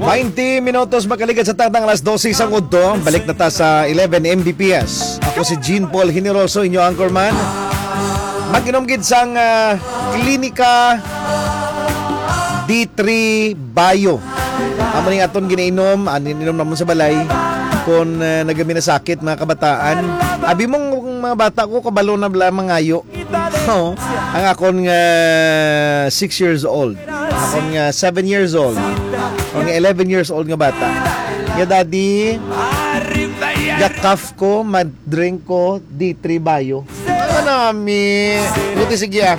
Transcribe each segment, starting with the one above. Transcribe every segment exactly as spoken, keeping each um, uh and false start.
Twenty minutos makalikat sa takdang alas dose sang udto. Balik na ta sa eleven M B P S. Ako si Jean Paul Generoso, inyo anchorman. Mag-inom gid sang, ah, Klinika D three Bio. Amo ning aton ginainom, anin inom namon sa balay. Kung, ah, nagaminasakit, mga kabataan, abi mong mga bata ko, kabalo na bala mangayo. Oo. Ang akon nga six years old, akon nga seven years old, akon nga eleven years old nga bata. Nga, "Daddy, ga-cough ko, mag-drink ko D three Bio." Ano, mi? Buti, sige, ah.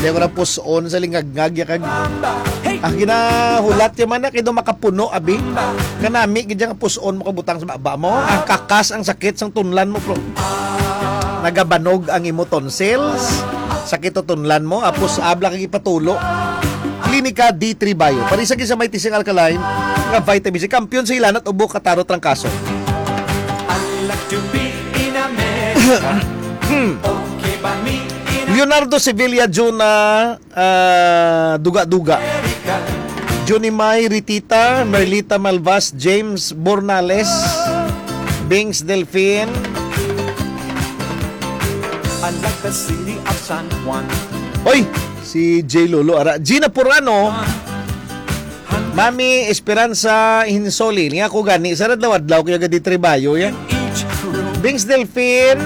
Di ako na puson sa lingagngag, ya kag, ah, ginahulat ya man na, kay daw makapuno, abi. Kanami, gid yang puson mo kabutang sa baba mo. Ang kakas, ang sakit, sang tunlan mo, bro. Nagabanog ang imo tonsils, sakit o tunlan mo, apos abla kag ipatulo. Klinika D three Bio. Parisa gid sa may tising alkaline nga vitamin C. Kampiyon sa hilanat, ubo, katarot, trangkaso. I like to be in America. Okay ba me in Leonardo Sevilla Juna, ah, Duga-Duga. Junimay Ritita, Merlita Malvas, James Bornales, Bings Delfin. I like the city of San Juan. Oy, si J Lolo ara. Gina Purano, Mami Esperanza Hinsoli. Niya ko gani, sa adlaw-adlaw kaya gadi tribayo yan. Each room. Bings Delfin.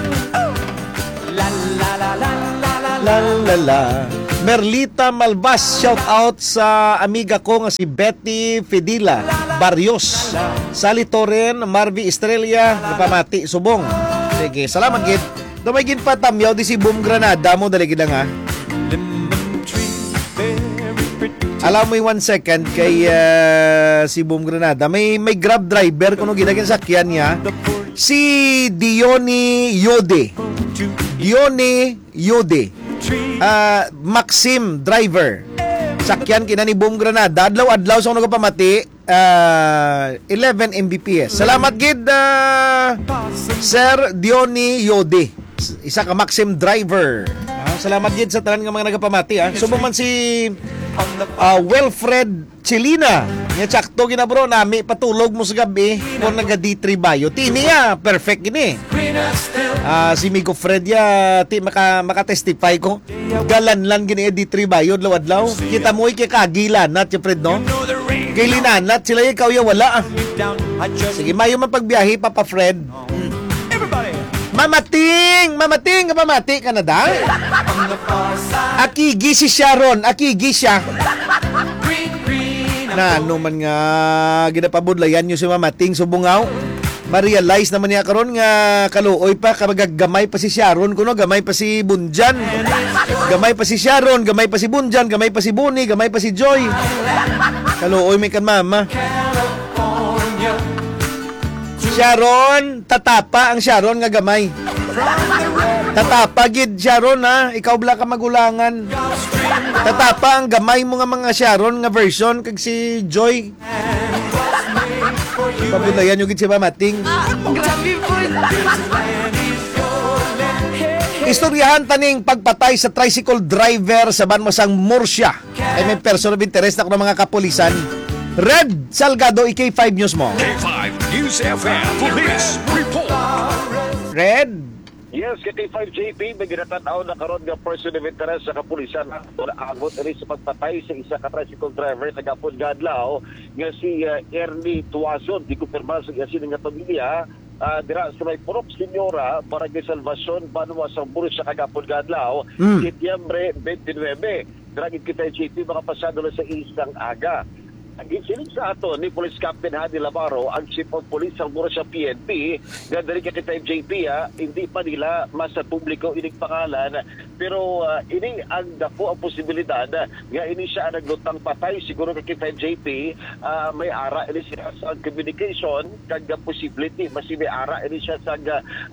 La, la, la, la, la, la, la, la, la. Merlita Malvas, shout out sa amiga ko nga si Betty Fidila Barrios, Sally Toren, Marvy Estrella, napamati subong. Sige, salamat gid. Daw may ginpatamyaw di si Boom Granada mo, dali gid nga. Lemon tree, very pretty. Allow me one second kay, ah, si Boom Granada. May, may Grab driver, kuno gid ang sakyan niya. Si Diony Yode. Diony Yode. Ah, Maxim driver. Sakyan kina ni Boom Granada. Adlaw-adlaw sa nagapamati, ah, eleven M B P S. Salamat gid, ah, Sir Diony Yode. Isa ka Maxim driver. Ah, salamat gid sa tanan nga mga nagapamati, ah. Subong man si, ah, Wilfred Chilina. Nga sakto gina, bro, nami patulog mo sa gabi kung naga D three Bio. Tini, ah, perfect gini. Ah, si Migo Fred ya, ti maka, maka-testify ko. Galanlan gini, eh, D three Bio, adlaw-adlaw. Kita mo, eh, kay kagilanat, ya, Fred, no? Kay linanat sila, ikaw ya wala, ah. Sige, mayo man pagbiyahe, Papa Fred. Mamating! Mamating! Mamating ka na, da? Akigi si Sharon. Akigi siya. Na, ano man nga, ginapabudlayan nyo si Mamating, subungaw. Ma-realize naman niya karon nga kaluoy pa, kag gamay pa si Sharon, kuno gamay pa si Bunjan. Gamay pa si Sharon, gamay pa si Bunjan, gamay pa si Boni, gamay pa si Joy. Kaluoy may kan mama. Sharon, tatapa ang Sharon nga gamay. Tatapa gid, Sharon, ha? Ikaw bala ka magulangan. Tatapa ang gamay mo nga mga Sharon nga version kag si Joy. Pabudlayan nyo gid si Mamating. Grabe po. Istoryahan taning pagpatay sa tricycle driver sa Banwa sang Murcia. Ay may person of interest na kuno mga kapulisan. Red Salgado, i K five News mo. K five News F M Police Report. Red? Yes, K T five J P, may ginatanaw na karon nga person of interest sa kapulisan. Angot ini sa pagpatay sa isa ka tricycle driver kagapon nga adlaw nga si, ah, Ernie Tuason. Gikumpirma sa iya sini nga pamilya, ah, dira sa may Purok Señora, Barangay Salvacion, Banwa sang Murcia kagapon nga adlaw, Mm. Setyembre twenty-nine. Dira gid kita, J P, mga pasado na sa isang aga. Ang ginsiling sa aton ni Police Captain Hadi Lamaro, ang Chief of Police sang Murcia P N P, nga diri ka kita, J P, ah, hindi pa nila masapubliko ining pangalan, pero, ah, ini ang dako ang posibilidad, ah, nga ini siya ang naglutang patay. Siguro ka kita, J P, ah, may ara ini siya sa communication, kag, ah, posible ti mas may ara ini siya sa,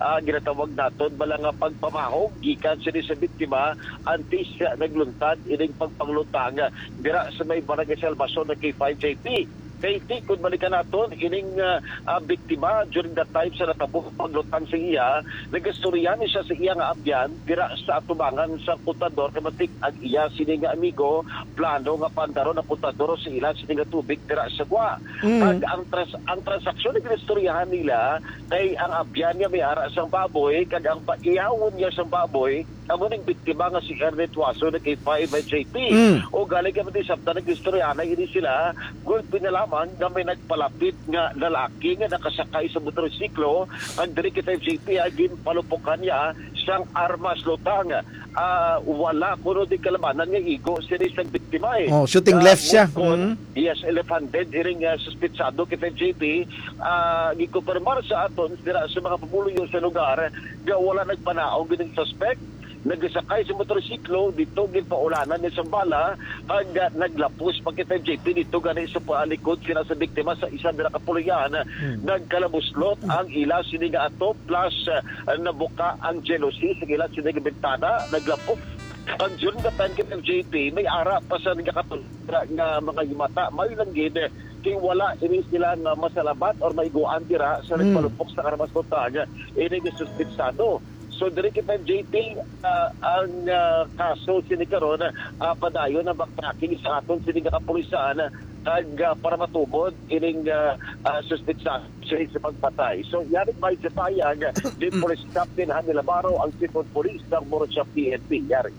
ah, ginatawag naton bala nga pagpamahog gikan sini sa biktima antes, ah, nagluntad ining pagpanglutang, ah, dira sa may Barangay Salvacion nga K five J P. J T, kung balikan naton, ining, ah, ah, biktima, during that time sa natabo ang paglutang sa iya, nagastorya ni siya sa iya nga abyan dira sa atubangan sa kontador, kay matik ang iya sini nga amigo plano nga pandaron ang kontador sa ila sini nga tubig dira sa gwa. Mm. Kag ang trans-, ang transaksyon nga ginistoryahan nila kay ang abyan niya may ara sang baboy, kag ang paiyawon niya sang baboy amo ning biktima nga si Ernie Tuaso na kay five J P. Mm. O gali ka man di sabta, nag-istorya na ini sila, gulpi na lamang nga may nagpalapit nga lalaki nga nakasakay sa motorsiklo, ang diri kay five J P, ah, ginpalupukan niya sang armas lutang. Ah, wala kuno di kalabanan nga igo sini sang biktima, eh. Oh, shooting Ah, left siya. Mukon, Mm. yes, left-handed, iring, ah, suspitsado kay five J P. Ah, gikumpirmar sa aton dira sa mga pumuluyo sa lugar nga wala nagpanaog ining suspect. Nagasakay sa motorsiklo, dito ginpaulanan ni sang bala, kag, ah, naglapos pa kay five J P dito gani sa palikod sina sa biktima sa isa dira ka pulihan. Hmm. Nagkalabuslot ang ila sini nga ato, plus, ah, nabuka ang jealousy sa ila sini nga bintana, naglapos. Ang June ka time kay five J P, may ara pa sa nagakatulog nga mga himata, may lang gid, kay wala ini sila nga masalabat or maiguan dira sa Hmm. nagpalupok sa karamas kutag ini nga suspitsado. So, diri kay five J P, ah, ang, ah, kaso sini karon, ah, padayon ang backtracking sa aton sini nga kapulisan, kag, ah, para matubod ining, ah, ah, suspitsa sini sa pagpatay. So, yari may sa payag, di Police Captain Hani Labaro, ang Chief of Police sang Murcia P N P. Yari.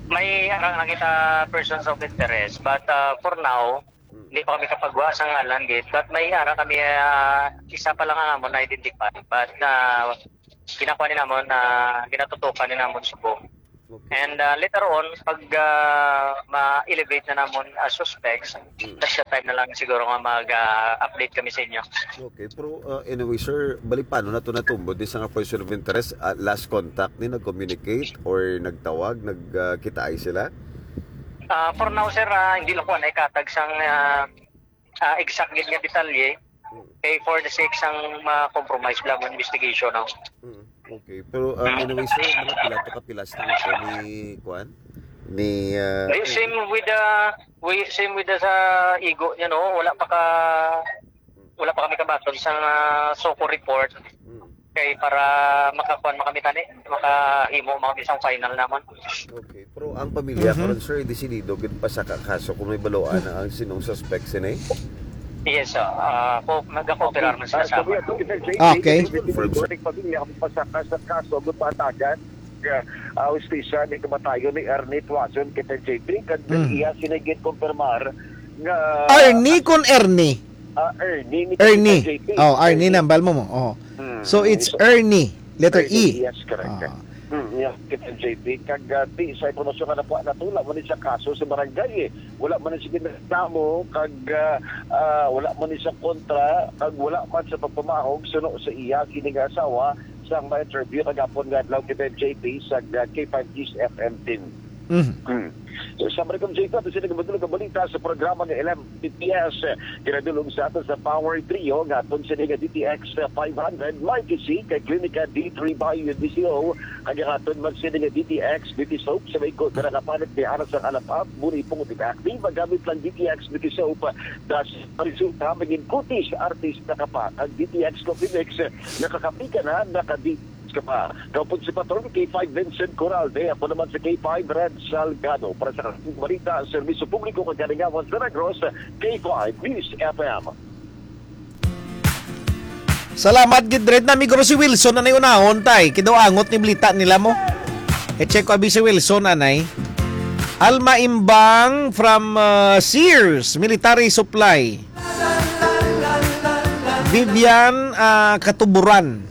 May arang na kita persons of interest, but, ah, for now, Mm. hindi pa kami kapagwa sa ngalan gid. But may ara kami, ah, isa pa lang ang amon na-identify. But, ah, ginakuha ni namon, ah, ginatutukan ni namon subong. Okay. And, ah, later on, pag, ah, ma-elevate na namon, ah, suspects, Mm. that's the time na lang siguro nga mag, ah, update kami sa inyo. Okay, pero, ah, anyway, sir, bali, paano na to natumbod ni sa nga person of interest? Ah, last contact ni, nag-communicate or nagtawag, nag, ah, kitaay sila? Ah, for now, sir, ah, hindi lang ko na ikatag sang, ah, ah, exact gid nga detalye. Mm. Kay for the sake sang ma-compromise lang ang investigation, no? Mm, okay. Pero, ah, anyway, sir, mga pila to ka pilas na ito ni, kuan? Ni, ah, Eh, same with the, we, same with the sa igo niya, no? Wala pa ka, wala pa kami kabaton sa, ah, SOCO report. Mm. Kay para makakuan man kami tani, makahimo man kami sang final naman. Okay. Pero ang pamilya Mhm. karon, sir, desidido gid pa sa ka-, kaso kung may baluan na ang sinong suspect sini? Yes, sir. Ah, ko, nagakooperar man sila Ah, sa sabi amin. Ato, Sir J P, Okay. Confirm, sir. Pamilya, ang pasaka sa kaso, gud pahatagan, ah, hustisya ni kamatayon ni Ernie Tuason kay Sir J P, kag Mm. iya sini ginkumpirmar nga Arnie kon Ernie? Ah, Ernie ni Ernie. Sir J P. Oh, Arnie Ernie. Nambal mo mo. Oh. Mm. So, it's So, Ernie, letter Ernie, E. Yes, correct. Ah. Mm, yeah, kita J P. Kag, ah, di sa impormasyon nga nakuha nato, wala man ni sa kaso sa barangay, eh. Wala man ni sa ginreklamo, kag, ah, ah, wala man ni sa kontra, kag wala man sa pagpamahog suno sa iya kini nga asawa sa ma-interview kagapon nga adlaw kita J P sa, ah, K five News F M team. Mhm. Hmm. So, sa Maricom J P, ato sila kabutulog ang balita sa programa ni L M P P S. Ginadulong sa ato sa Power Trio, nga aton sini nga D T X five hundred, Mighty C, kay Klinika D three Bio D C O, ang aton man sini nga D T X Beauty Soap, sa may ko, na nakapalit ni Aras ang alapap, muni pungot active, magamit lang D T X Beauty Soap, das resulta, maging kutis, artista ka pa. Ang D T X Coffee Mix, nakakapi ka na, nakadi ka pa. Kaupod si Patron K five Vincent Coralde, ako naman si K five Red Salgado. Para sa Kalasing Balita, Serbisyo Publiko kag Kalingawan sa Negros, K five News F M. Salamat gid, Red. Nami ko si Wilson na nayunahon, tay. Kidaw angot ni balita nila mo. E, check ko abi si Wilson, anay. Alma Imbang from, uh, Sears Military Supply. Vivian, ah, Katuburan.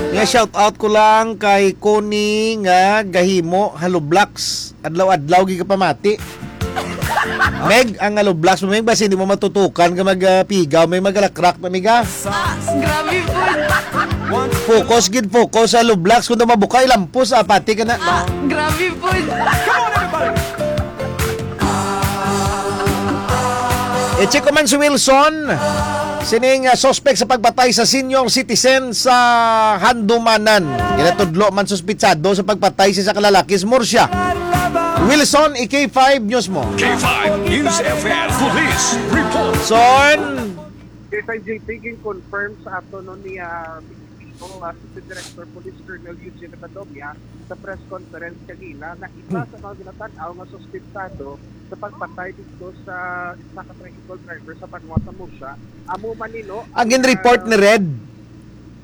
Nga shout out ko lang kay Connie nga gahimo hollow blocks. Adlaw-adlaw gid ka pamati. Meg, ang hollow blocks mo, Meg, basi hindi mo matutukan ka mag, ah, pigaw, may magalakrak na, miga. Ah, grabe po. Focus gid, focus sa hollow blocks. Kung daw mabuka, ilampos, ah, pati ka na. Ah, grabe po. I-check ko man si Wilson. Sining, ah, suspect sa pagpatay sa senior citizen sa Handumanan. Ginatudlo man suspitsado sa pagpatay sa isa ka lalaki sa Murcia. Wilson, i-K five News mo. K five News F M Police Report. Son! Kay sa J P, gin-confirm sa ato, no, ni, ah, P P O, ah, Assistant Director Police Colonel Eugene Badomia sa press conference kanina nga isa sa mga ginatan-aw nga suspetsado sa pagpatay dito sa isa ka tricycle driver sa banwa sa Murcia. Amo man ni, no, Ang ang, gin-report ah, ni Red?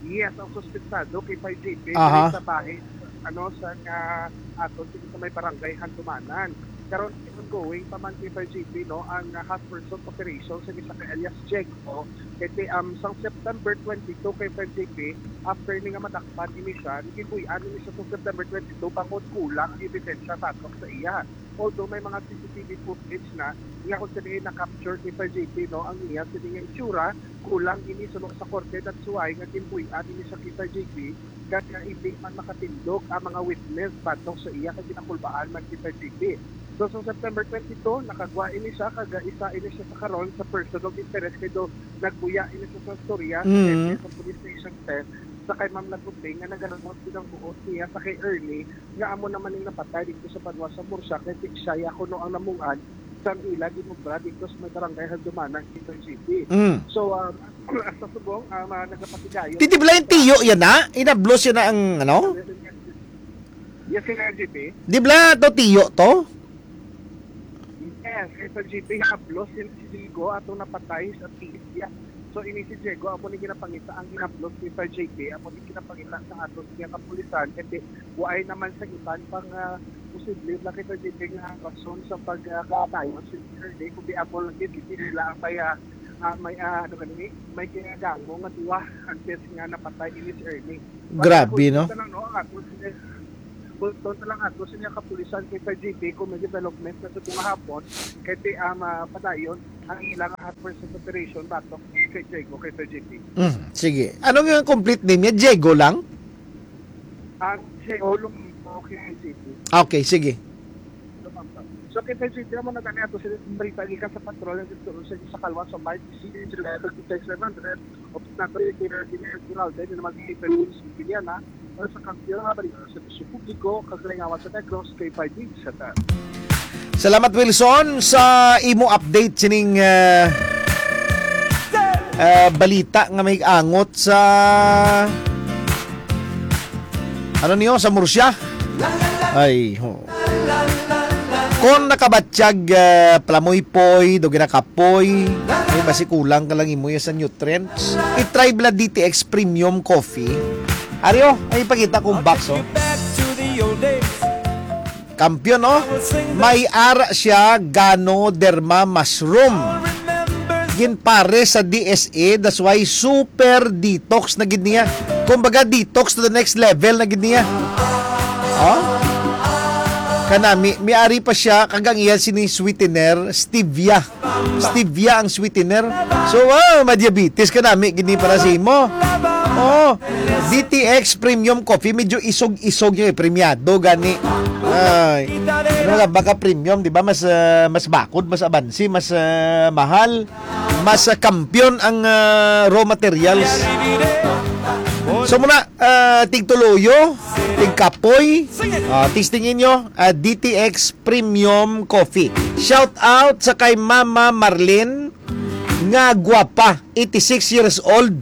Yes, ang suspetsado kay J P Aha. Sa bahin, ano, sa nga ato sa may barangay Handumanan. Karon, ongoing pa man kay J P, no, ang, ah, hot pursuit operation sa isa ka alias Jeko. Kay ti, um, sang September twenty-two kay J P, after ni nga madakpan ini siya, gibuy-an ini siya sa September twenty-two bangod kulang ang ebidensya batok sa iya. Although may mga C C T V footage na nga kung saan na-capture kay J P, no, ang iya sini nga itsura, kulang ini suno sa korte, that's why nga ginbuy-an ini siya kay J P, kag nga hindi man makatindog ang mga witness batok sa iya kay ginakulbaan man kay J P. So, sa September twenty-two, nakagwa ini siya, kag isa ini siya sa karon sa person of interest, kay do nagbuya ini siya sa storya sa Mm. F S sa Police Station ten sa kay Ma'am Laguting nga nagaramot gid ang buot niya sa kay Ernie, nga amo naman ning napatay dito sa banwa sa Murcia, kay ti-, siya ya kuno ang namung-an sang ila ginobra dito sa may barangay Haldumanan, Quezon City. Mm. So, um, sa subong, um, ah, nagapatigayon. Di, di ba yung tiyo yan na? Inablos yan na ang, ano? Yes, Sir J P. Di ba to tiyo to? Yes, kay Sir J P, hablos si, si Diego atong napatay sa tiis niya. So, ini si Diego, amo ni ginapangita ang hinablos ni Sir J P, amo ni ginapangita sa aton nga kapulisan, kasi waay naman sa iban pang, ah, posible na kay Sir J P nga rason sa pagkatayon si Sir J, kundi amo lang gid, hindi nila ang may, ah, ah, may, ah, ano gani, may kinagango nga duwa antes nga napatay ini si Ernie. Grabe, no? Bulton na lang, no, ang ato sini, bulton na lang ato sini ang kapulisan kay Sir J P kung may development na sa tunga hapon, kay ti, ah, mapadayon ang ilang hot pursuit operation batok kay Diego, kay Sir J P. Mm, sige. Ano nga complete name niya? Diego lang? Ah, Diego Lumambo kay J P. Okay, sige. So, kay Sir J P, amo na gani ato sila balita gikan sa patrol nga gituro sa, sa Kalwan sa Mike, si July thirty-six, seven hundred, o Pagkakari, kay Engineer Gerald, dahil naman si Freddy Siciliana, para sa kampiyon nga balita sa Bisyo Publiko, kag Kalingawan sa Negros, kay Five News Center. Salamat, Wilson, sa imo update sining, ah, ah, balita nga may angot sa, ano niyo, sa Murcia. Ay, ho. Kung nakabatyag, ah, palamoy-poy, do ginakapoy, may basi kulang ka lang imo sa nutrients. I-try bala D T X Premium Coffee. Aryo, ay ipakita kong box, oh. Kampiyon, oh. May ara siya, Ganoderma Mushroom. Ginpares sa D S A, that's why super detox na gid niya. Kumbaga, detox to the next level na gid niya. Oh? Kanami, may ari pa siya, kag ang iya sini sweetener, stevia. Stevia ang sweetener. So, ah, ma-diabetes ka nami, gini para sa imo. Oh, D T X Premium Coffee, medyo isog-isog yung premiado, gani. Ay, ano nga ba ka premium, di ba? Mas, ah, mas bakod, mas abansi, mas, ah, mahal, mas, ah, kampiyon ang, ah, raw materials. So muna, ah, tigtuluyo, tigkapoy, ah, testingin nyo, ah, D T X Premium Coffee. Shout out sa kay Mama Marlene nga gwapa, eighty-six years old.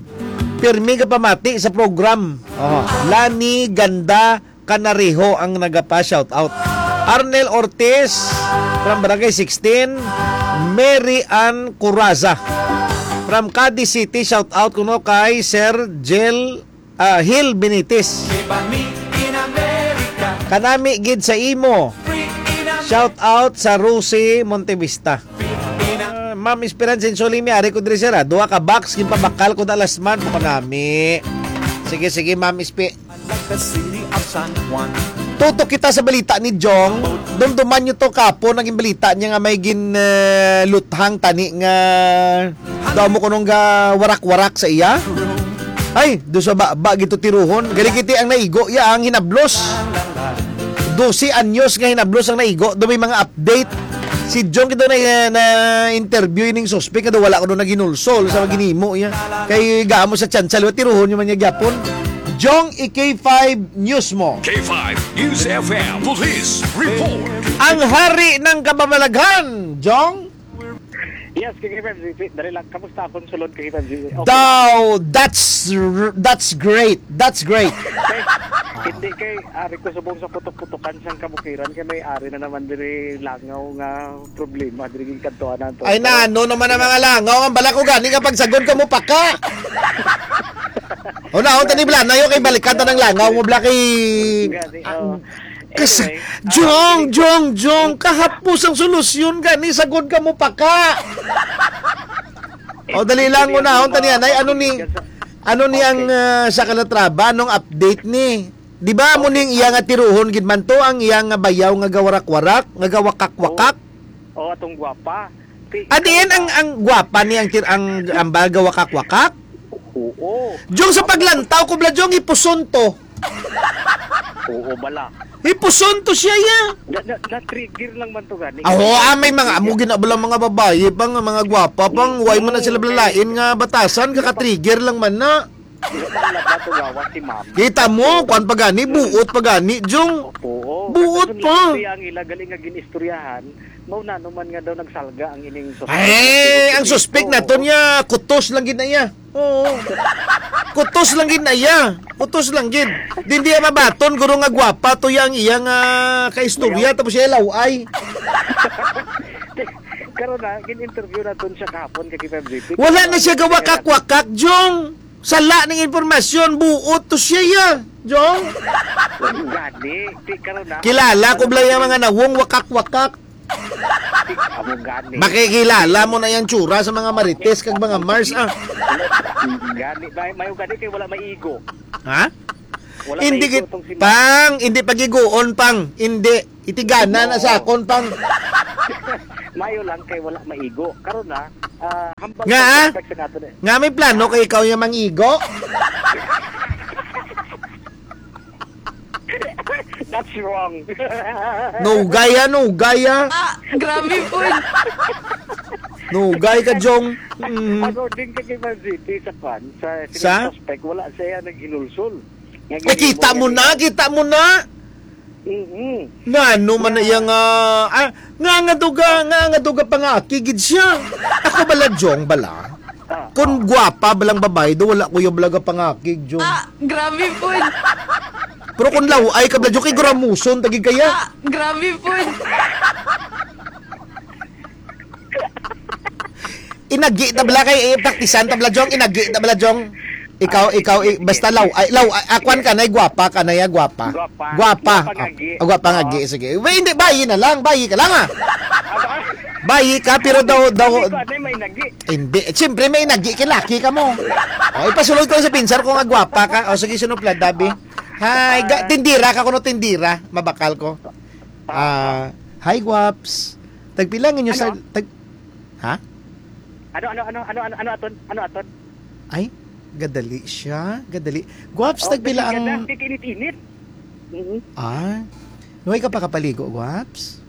Pirmi nga pamati sa program. Oh, Lani Ganda Canarejo ang nagapa shout out. Arnel Ortiz from Barangay sixteen, Mary Ann Curaza from Cadiz City, shout out kuno kay Sir Jel, ah, Hil Benitez. Kanami gid sa imo. Shout out sa Rosie Montevista. Ah, Ma'am Esperanza Insulimi, ari ko diri, sir, ah. Duha ka box, ginpabakal ko na last month. Kanami. Sige, sige, Ma'am Espe. Tutok kita sa balita ni Jong. Dumduman nyo to, kapo, naging balita niya nga may gin, eh, luthang tani nga daw mo kunong ga warak-warak sa iya. Ay, do sa ba, ba gito tiruhon. Gali kiti ang naigo, ya ang hinablos. Dose anyos nga hinablos ang naigo. Do may mga update. Si Jong kito na, na interview ining suspect nga daw wala ko doon naginulsol sa maginimo, ya. Kay gamo sa tsansa, liwat tiruhon yung man niya gyapon. Jong, i-K five News mo. K five News F M Police Report. Ang hari ng kababalaghan, Jong. Yes, K five G P. Dali lang, kamusta akong sulod, K five G P? Okay. Daw, that's r-, that's great. That's great. Kay, hindi kay ari ko subong sa putok-putokan sang kabukiran kay may ari na naman diri langaw nga problema diri gid kadto nato. Ay, na, ano naman ang mga langaw? Ang bala ko gani nga pagsagod ka mo paka. O na, unta ni Blanayo kay balikan ta ng langaw mo, Bla, kay Gani, ah, oh. Kas-, Anyway, ah, Jong, sige. Jong, Jong, kahapos ang solusyon gani, sagod ka mo paka. O, dali lang, Sige, unahon ta niya, Nay, ano ni, sige, sa-, ano ni ang, okay. Ah, sa Calatrava, anong update ni? Di ba mo Okay. ning iya nga tiruhon gid man to, ang iya nga bayaw nga gawarak-warak, nga gawakak-wakak? Oh, atong gwapa. Ti-, Ah, diin ang, ikaw na. Ang gwapa ni ang tir-, ang, ang baga wakak-wakak? Oo. Jong, sa Ang paglantaw ko, Bla, Jong, ipuson to. Oo, bala. Ipuson to siya, ya. Na, na, na-trigger lang man to gani. Aho, ah, may mga amo ginabala mga babayi pang, mga gwapa pang, way man na sila Hindi. Blalain nga batasan, Hindi pa. Kaka-trigger lang man na. Hindi pa nila ba to gawas si ma'am? Kita mo, Oo. Kwan pa gani, buot pa gani, Jong. Oo. Buot Kaso pa. Nag-istorya ang ila, galing nga gin-istoryahan, mao na naman nga daw nagsalga ang ining suspect. Ay, ang suspect Oo. naton niya, kutos lang gid na iya. Oo. Kutos lang gid na iya. Kutos lang gid. Di, di mabaton, guro nga gwapa to yang iya nga kaistorya, Mayaw. Tapos siya laway. Karon na, gin-interview naton siya kahapon kay K five G P. Wala na siya gawakak-wakak, Jong. Sala ning impormasyon, buot to siya, ya, Jong. Gani, ti karon na. Kilala ko bala yung mga nawong wakak-wakak. Amo gani. Makikilala mo na yung tsura sa mga Marites kag mga Mars, ah. Gani, may, may gani kay wala maigo. Ha? Wala Hindi maigo gid, tong si Ma- pang, hindi pagiguon, pang. Hindi. Itigana na Oo. sa akon, pang. Mayo lang kay wala maigo. Karon na, ah, hambal Nga, sa ah? Suspect sa nato na. Nga may plano kay ikaw yung mangigo? That's wrong. Nugay, ah, nugay, ah. Ah, grabe po. Nugay ka, Jong. Mm. According kay Kevin City sa kwan, sa, sa Sa? Suspect, wala siya naghinulsol. Nga Eh, kita mo na, kita mo na. Mm-mm. Nga ano man na Nga iya nga, ah, nga, nga duga, nga, nga duga pa nga aki gid siya. Ako bala, Jong, bala. Ah, Kung ah. gwapa balang babae do, wala ko yung balaga pangakig, Jong. Ah, grabe po. Pero kung laway ka, bala, Jong, kay guramuson, tagi kaya. Ah, grabe po. Inagi ta bala kay, eh, praktisan ta bala, Jong. Inagi ta bala, Jong. Ikaw, Ah, ikaw, sige, eh, sige, basta sige. law-, ay, law-, ay, ah, kwan ka na, eh, gwapa ka na, ya, gwapa. Gwapa. Gwapa. Gwapa nga Ah, agi. ah, gwapa nga Ah. agi. Sige. Wait, hindi, bayi na lang. Bayi ka lang, ah. Ah, ba? Bayi ka, pero daw, daw, Hindi ko, ano, may nagi. Hindi. Eh, siyempre, may nagi. Kay laki ka mo. O, ipasulod ko sa pinsar ko nga gwapa ka. O, sige, sunod pala, Dabi. Ah. Hi, ga-, Ah. tindira ka kuno, tindira. Mabakal ko. Ah. Ah, hi, Gwaps. Tagpila ang inyo sa, Ano? tag-, ha? Ano, ano, ano, ano, ano, ano aton? Ano aton? Ay, gadali siya. Gadali. Gwaps, Oh, tagpila kasi ang ganda, kasi init-init. Mhm. Ah. Nuway ka pa kapaligo, Gwaps?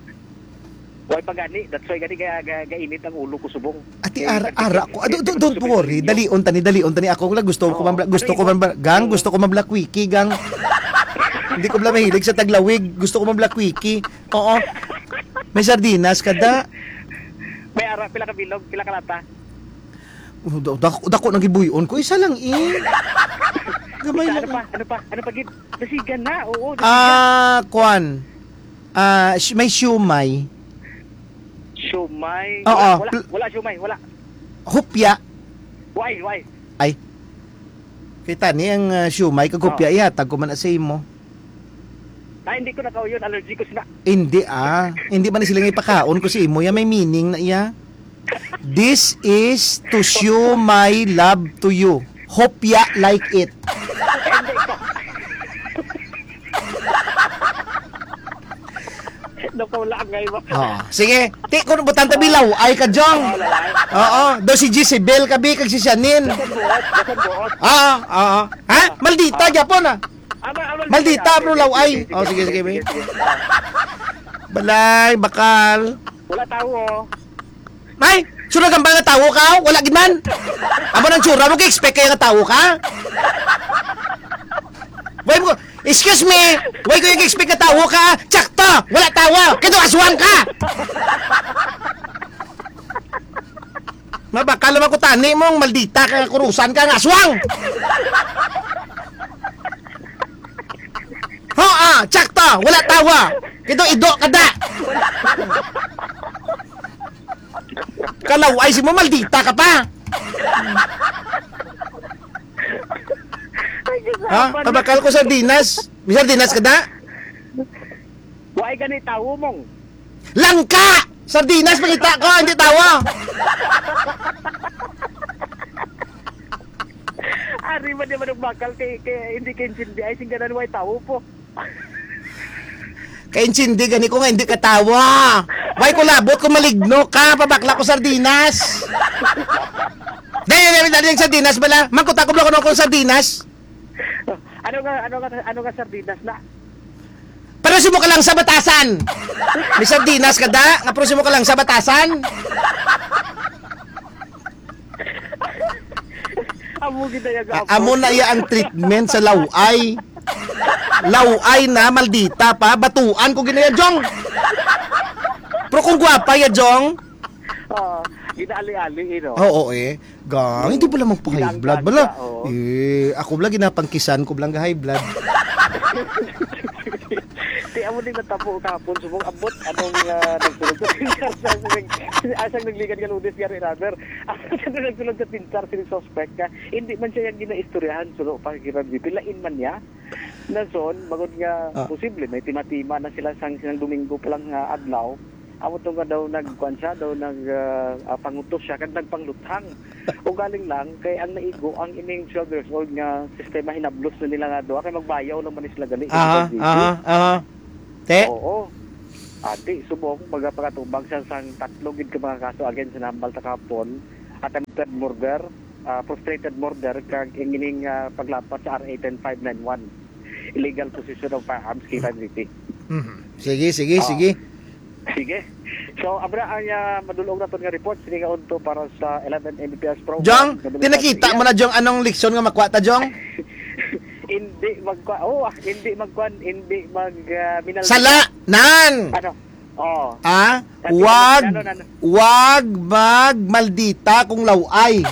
Why pa gani? That's why gani ga-, ga-, gainit ang ulo ko subong. Ati, Eh, ara, nagtipid-tipid ara ko. Ah, don't, don't, ako don't subong worry. ninyo. Dalion tani, dalion tani. Ako lang gusto ko Oo. man bla-, gusto Ano ko man imo? bla-, gang, Oo. gusto ko man bla quickie, gang. Hindi ko bla mahilig sa taglawig. Gusto ko man bla quickie. Oo. May sardinas ka da. May ara, pila ka bilog, pila ka lata? Oh, da-, dako, dako nang gibuyon ko. Isa lang, eh. Gamay Isa, lang, ano pa? eh. Ano pa? Ano pa, gid? Dasigan na, oo, dasigan. Ah, kwan. Ah, si-, may siumay. Siumay? Oo, Wala, wala, pl- wala siumay, wala. Hupya. Why, why? Ay. Kita ni ang, ah, siumay kag hupya, Oo. ihatag ko man na sa imo. Ah, hindi ko nakauyon, allergy ko sina. Hindi, ah. Hindi man sila nga ipakaon ko sa imo. Ya, may meaning na iya. This is to show my love to you. Hope ya like it. Hindi ko. Napaulaangay mo. Oh, sige. Ti, kung butang tabi, laway ka, Jong. Oo, laway. Oo, daw si Jezebel ka, bi, kag si Shanin. Basan buot, basan buot. Ah, ah, ah. Ha? Maldita, Ah. gyapon, ah. Ama, ama, Maldita, sige, bro, sige, laway. sige, Oh, sige, sige, sige, sige, be. sige. Balay, bakal. Wala tao, oh. Ay, sure ka ba nga tawo ka? Wala gid man. Amo nang tsura mo, kay expect kaya nga tawo ka? Why mo, excuse me, why ko yung expect na tawo ka? Tsakto, wala tawo. Kito aswang ka. Mabakal naman ko tani mong maldita ka nga kurusan ka nga aswang. Ho, ah, tsakto, wala tawo. Kito ido ka da. Kalaw-ay si mo, maldita ka pa. Ay, Diyos, Ha? Apan. Tabakal ko sardinas. May sardinas ka da? Wa ay gani tawo mong. Langka! Sardinas, pangita ko, hindi tawo. Ari man naman ang bakal kay, kay hindi kay intindi ay singganan way tawo po. Kay intindi gani ko nga hindi ka tawo. Why ko labot kung maligno ka, pabakla ko sardinas. Dali, dali, dali, yung sardinas bala. Mangkuta ko bala ko ng sardinas. Ano nga, ano nga, ano nga sardinas na? Pero si mo ka lang sa batasan. May sardinas ka da, nga pero si mo ka lang sa batasan. Amo gid na yung A-, amo na iya ang treatment sa laway. Laway na, maldita pa, batuan ko ginaya, Jong. Pero kung gwapa ya, Jong. Oo, ginaali-ali, eh, no? Oo, eh. Gang, hindi pala magpa-high Ginanggang blood, bala. Ka, oo. Eh, ako bala, ginapangkisan ko bala nga high blood. Di, amo din natabo kahapon, subong abot, anong, ah, nagsulod sa pintar sa, sa, sa, asang nagligan nga Lunes, gari, rather. Ang nagsulod sa pintar, sini suspect ka. Hindi man siya yung ginaistoryahan, sulo pa, kira, di, pilain man niya. Nason, bangod nga Ah. posible, may tima-tima na sila sang, sang Domingo pa lang nga adlaw. Amo to nga daw nagkuan siya, daw nag, ah, ah, pangutos siya, kag nagpangluthang. Ugaling lang, kay ang naigo, ang ining twelve years old nga sistema, hinablos na nila nga daw, kay magbayaw lang man sila gali, Aha, kay aha, aha. Te? Oo. Ati, subong, magapakatubag siya sang tatlo gid ka mga kaso against sa nambal sa kapon, attempted murder, ah, frustrated murder, kag ining, ah, paglapat sa R A ten five nine one, illegal possession of firearms, K five City. Mhm. Sige, sige, Oo. sige. Sige. So, abra ang, ah, madulong naton nga report. Sige nga unto para sa eleven M B P S program. Jong, Nga tinakita mo na, Jong, anong leksyon nga makuha ta, Jong? Hindi magkuha. Oh, ah, hindi magkuan, hindi mag, ah, minal- Sala! Nan! Ano? Oh. Ah, Sabi wag, ano, ano, ano? wag magmaldita kung laway.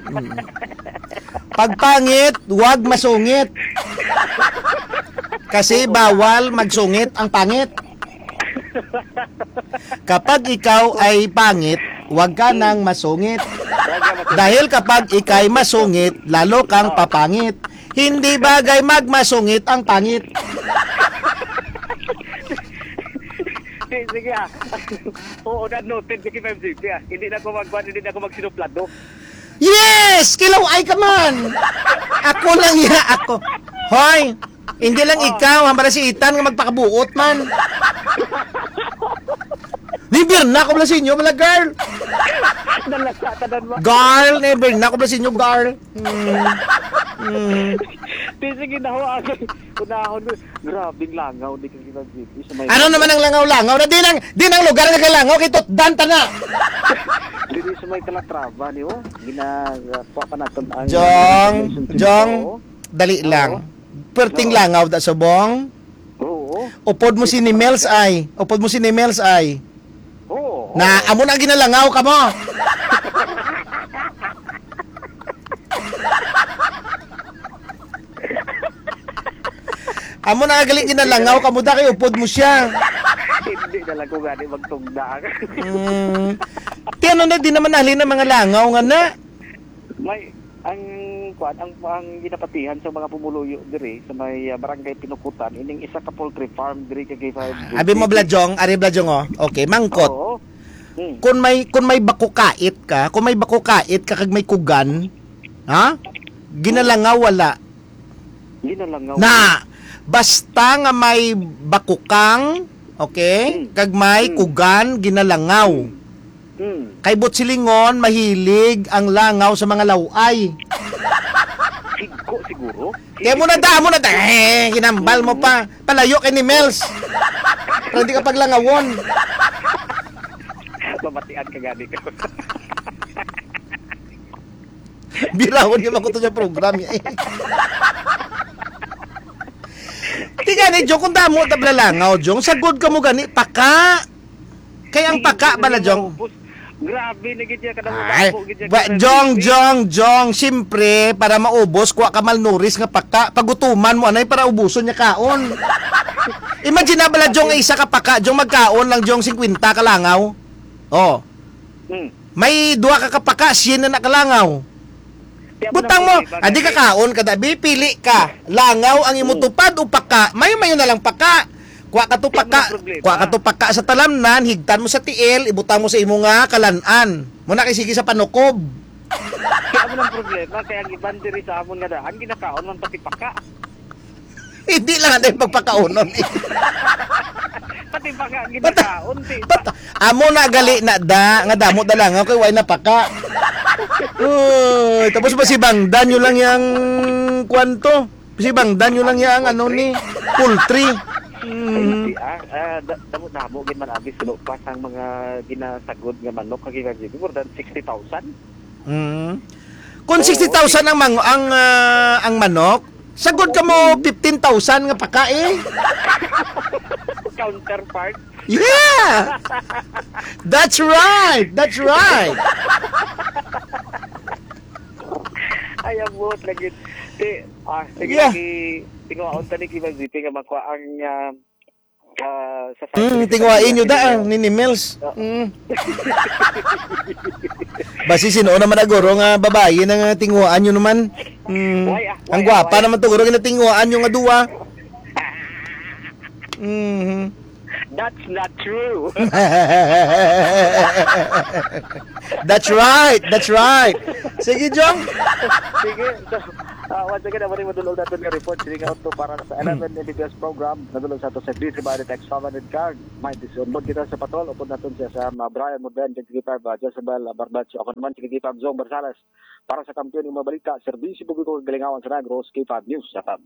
Mm. Pagpangit, wag masungit. Kasi bawal magsungit ang pangit. Kapag ikaw ay pangit, wag ka nang masungit. Dahil kapag ikay masungit, lalo kang papangit. Hindi bagay magmasungit ang pangit. Sige, sige, ah. Oo, na noted sa K five City, ah. Hindi na ako magkuhan, hindi na ako magsinuplado. Yes! Kilaw ay ka man! Ako lang ya, ako. Hoy! Hindi lang Oh. ikaw, hambara si Ethan nga magpakabuot man. Never na ako bala sa inyo, bala, girl. Nalasa, tanan mo. Girl, never na ako bala sa inyo, girl. Mm. Mm. Di, sige na ho, ah. Unahon mo. Grabing langaw ni Kagina G P sa may Ano naman ang langaw-langaw? Na di nang, di nang lugar nga kay langaw, kay tutdan ta na. Diri sa may Calatrava, ni, oh. Gina-, kuha pa naton ang Jong, information Jong, dito. Dali Oo. lang. Perting Oo. langaw da subong. Oo. Upod mo si ni Mels ay. Upod mo si ni Mels ay. Oo, Na, oo. amo na ang ginalangaw ka mo. Amo na ang galing ginalangaw ka mo da kay upod mo siya. Hindi na lang ko gani magtugda. Mm. Ti ano na, di naman nahali na mga langaw nga na. May, ang, kuwan, ang, ang ginapatihan sa mga pumuluyo diri sa may, ah, Barangay Pinukutan, ining isa ka poultry farm diri kay K five Ah, abi mo, Bladjong, ari, Bladjong, oh. Okay, mangkot. Oo. Hmm. Kung may, kung may bakukait ka, kung may bakukait ka kag may kugan, ha? Ginalangaw, wala. Ginalangaw. Na, basta nga may bakukang, okay, Hmm. kag may Hmm. kugan, ginalangaw. Hmm. Hmm. Kay buot silingon, mahilig ang langaw sa mga laway. Sigko siguro. Kaya mo na da, mo na da. Eh, ginambal mo Hmm. pa. Palayo kay ni Mels. Pero hindi ka paglangawon. Mabatian ka gani ko. Birawon nga makuto sa program niya, eh. Di gani, Jong, kung damo ta bala langaw, Jong, sagod ka mo gani, paka. Kay ang paka bala, Jong. Grabe na gid niya, kada mo Ay, damo gid niya, ba, kada Jong, sige. Jong, Jong, siyempre, para maubos, kuha ka malnourished nga paka, pagutuman mo, anay, para ubuson niya kaon. Imagine na bala, Jong, isa ka paka, Jong, magkaon lang, Jong, singkwenta ka langaw. Oh. Hmm. May duha ka kapaka, siya na nakalangaw. Kaya mo Butang lang mo, problema, adi ka kasi kaon ka, dabi, pili ka. Langaw ang imo Hmm. tupad o paka? Mayo-mayo na lang paka. Kuha ka to Kaya mo paka, lang problema. kuha ka to paka sa talamnan, higtan mo sa tiil, ibutang mo sa imo nga kalan-an. Mo na kay sige sa panukob. Kaya mo lang problema, kaya ang iban diri sa amon nga daan, ginakaon man pati paka. Hindi lang ang pagpakaunon. Eh. Pati paka Bata, ginakaon, di ba? Bata, amo na gali na da, nga damo da lang, okay, way na paka. Uy, tapos ba si Bangdan nyo lang yang kwanto? Si Bangdan nyo lang yang ano ni poultry. Mhm. Ay, ah, ah, da-, damo-damo gid man abi suno pa sang mga ginasagod nga manok kag iba gid. More than sixty thousand. Mm. Kung Oo, sixty thousand ang mang-, ang, ah, ang manok, sagod ka mo fifteen thousand nga paka eh. Counterpart. Yeah! That's right! That's right! Ay, abot lagi. Ti, ah, sige Yeah. lagi. Tinguhaon ta ni Kibang G P nga makuha ang, ah, ah, sa Mm, tinguhain nyo da, ah, ni Nimels. Oo. Mm. Basi sino naman na guro nga babayi na nga tinguhaan nyo naman? Mm. Why, ah? Ang Why, ah? gwapa Why? naman to, guro, nga tinguhaan nyo nga duwa. Mhm. That's not true. That's right. That's right. Sige, Jong. Sige. So, ah, once again, amo ni madulog natin nga report. Sige nga to para sa Hmm. eleven M B B S program. Nadulog sa ato sa Beauty by the Text Family Card. May disunod kita sa patrol. Upod natin siya sa, ah, Brian Modern, twenty-five, ah, Jezebel, ah, Barbacho. Ako naman, twenty-five, Zong Barsales. Para sa kampiyon ng mga balita, serbisyo publiko, kagalingawan sa Negros, K five News F M.